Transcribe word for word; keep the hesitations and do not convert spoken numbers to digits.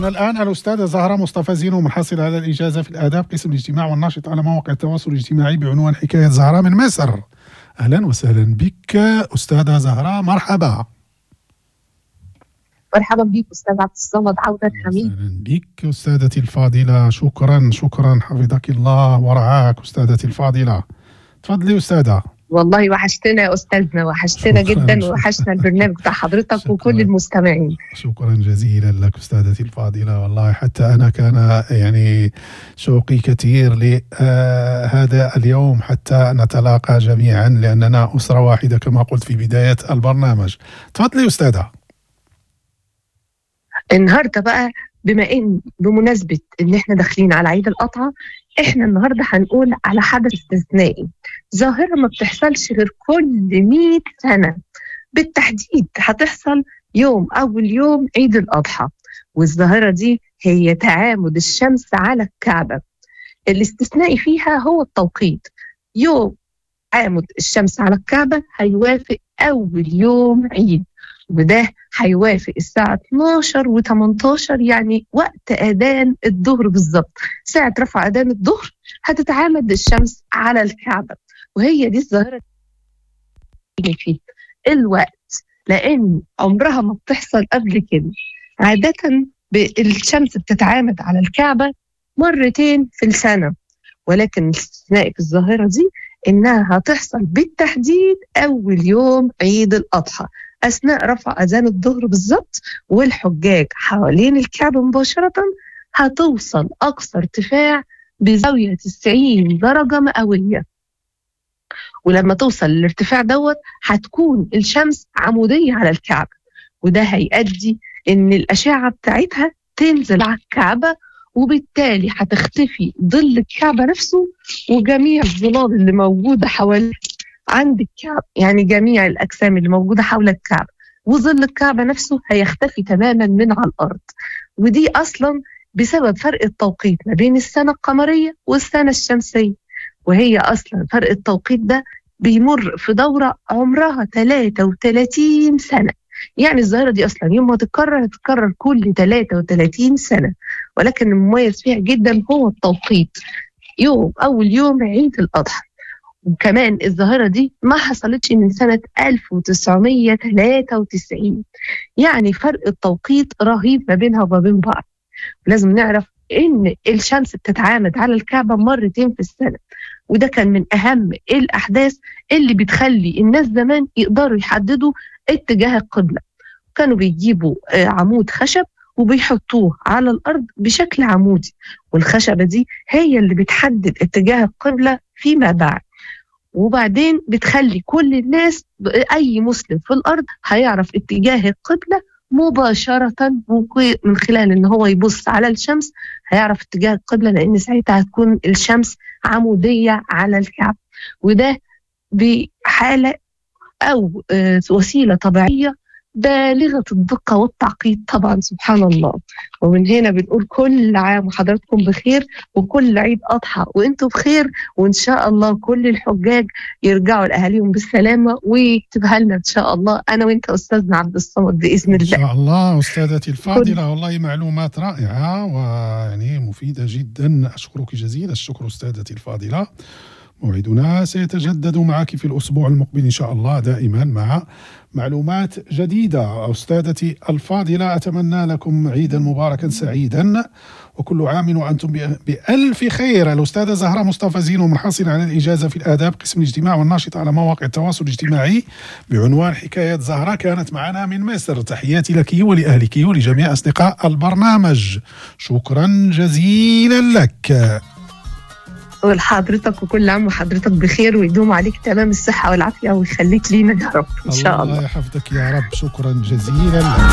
معنا الآن الأستاذة زهرة مصطفى زينو، منحصلة على الإجازة في الآداب قسم الاجتماع والناشط على مواقع التواصل الاجتماعي بعنوان حكاية زهرة من مصر. أهلا وسهلا بك أستاذة زهرة، مرحبا. مرحبا بك أستاذ عبد الصمد، عودة حميد. أهلا بك أستاذتي الفاضلة، شكرا شكرا، حفظك الله ورعاك أستاذتي الفاضلة. تفضلي أستاذة. والله وحشتنا يا أستاذنا، وحشتنا جدا، وحشنا البرنامج بتاع حضرتك شكرا. وكل المستمعين. شكرا جزيلا لك أستاذتي الفاضلة، والله حتى أنا كان يعني شوقي كثير لهذا اليوم حتى نتلاقى جميعا، لأننا أسرة واحدة كما قلت في بداية البرنامج. تفضلي أستاذة. النهارده بقى بما إن بمناسبة إن إحنا داخلين على عيد الأضحى، إحنا النهارده هنقول على حدث استثنائي، ظاهرة ما بتحصلش غير كل مئة سنة، بالتحديد هتحصل يوم أول يوم عيد الأضحى. والظاهرة دي هي تعامد الشمس على الكعبة. الاستثنائي فيها هو التوقيت، يوم تعامد الشمس على الكعبة هيوافق أول يوم عيد، وده هيوافق الساعة اتناشر وتمنتاشر، يعني وقت أذان الظهر بالظبط. ساعة رفع أذان الظهر هتتعامد الشمس على الكعبة، وهي دي الظاهرة اللي فيه الوقت، لأن عمرها ما بتحصل قبل كده. عادة الشمس بتتعامد على الكعبة مرتين في السنة، ولكن الاستثناء في الظاهرة دي إنها هتحصل بالتحديد أول يوم عيد الأضحى أثناء رفع أذان الظهر بالظبط، والحجاج حوالين الكعبة مباشرة هتوصل أقصى ارتفاع بزاوية تسعين درجة مئوية. ولما توصل للارتفاع دوت هتكون الشمس عمودية على الكعبة، وده هيؤدي إن الأشعة بتاعتها تنزل على الكعبة، وبالتالي هتختفي ظل الكعبة نفسه وجميع الظلال اللي موجودة حواليه عند الكعبة، يعني جميع الأجسام اللي موجودة حول الكعبة وظل الكعبة نفسه هيختفي تماما من على الأرض. ودي أصلا بسبب فرق التوقيت ما بين السنة القمرية والسنة الشمسية، وهي أصلا فرق التوقيت ده بيمر في دورة عمرها ثلاثة وثلاثين سنة، يعني الظاهرة دي أصلا يوم ما تتكرر هتتكرر كل ثلاثة وثلاثين سنة، ولكن المميز فيها جدا هو التوقيت، يوم أول يوم عيد الأضحى. وكمان الظاهرة دي ما حصلتش من سنة ألف وتسعمية وثلاثة وتسعين، يعني فرق التوقيت رهيب ما بينها وما بين بعض. لازم نعرف إن الشمس بتتعامد على الكعبة مرتين في السنة، وده كان من أهم الأحداث اللي بتخلي الناس زمان يقدروا يحددوا اتجاه القبلة. كانوا بيجيبوا عمود خشب وبيحطوه على الأرض بشكل عمودي، والخشبة دي هي اللي بتحدد اتجاه القبلة فيما بعد. وبعدين بتخلي كل الناس، أي مسلم في الأرض هيعرف اتجاه القبلة مباشرة من خلال إن هو يبص على الشمس، هيعرف اتجاه القبلة، لأن ساعتها هتكون الشمس عمودية على الكعبة. وده بحالة أو وسيلة طبيعية بالغة الدقة والتعقيد طبعا، سبحان الله. ومن هنا بنقول كل عام وحضراتكم بخير، وكل عيد أضحى وانتم بخير، وإن شاء الله كل الحجاج يرجعوا لأهاليهم بالسلامة، ويكتبها لنا إن شاء الله أنا وإنت أستاذنا عبد الصمد بإذن الله. إن شاء الله أستاذتي الفاضلة، والله معلومات رائعة ويعني مفيدة جدا، أشكرك جزيل الشكر أستاذتي الفاضلة. موعدنا سيتجدد معك في الأسبوع المقبل إن شاء الله، دائما مع معلومات جديدة. أستاذتي الفاضلة، أتمنى لكم عيدا مباركا سعيدا، وكل عام وأنتم بألف خير. الأستاذة زهرة مصطفى زينو، منحصلة على الإجازة في الآداب قسم الاجتماع والناشطة على مواقع التواصل الاجتماعي بعنوان حكاية زهرة، كانت معنا من مصر. تحياتي لك ولأهلك ولجميع أصدقاء البرنامج، شكرا جزيلا لك. ولحضرتك، وكل عام وحضرتك بخير، ويدوم عليك تمام الصحة والعافية، ويخليك لينا يا رب إن شاء الله. الله يحفظك يا رب، شكرا جزيلا لك.